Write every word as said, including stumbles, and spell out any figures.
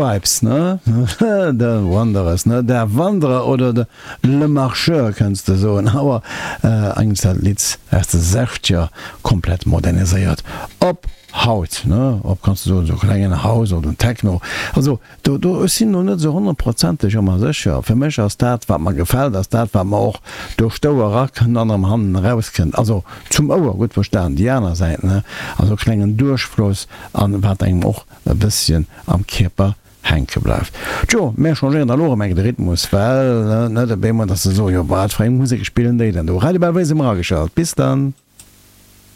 Stripes, ne? The Wanderers, ne? Der Wanderer oder de Le Marcheur kënns de soen, awer eigentlech dat Lidd aus de Sechzeger komplett moderniséiert op haut, ne? Op, kanns de soen, esou klengen House oder Techno. Also do, do, ech sinn do net esou honnertprozenteg ëmmer sécher. Fir mech ass dat, wat mer gefält, ass dat, wat mer och duerch d'Ouer erakënnt an erëm hannen erauskënnt. Also zum Ouer, gutt verstan, déi aner Säit, ne? Also klengen Duerchfloss an wat engem och e bësschen am Kierper hänke bleift. Tjo, mär changéieren da lo erëm eng de Rhythmus, well net op eemol, dass se soen, jo wat fir eng Musek spillen déi denn do? Radio Belwéi si mer ageschalt. Bis dann.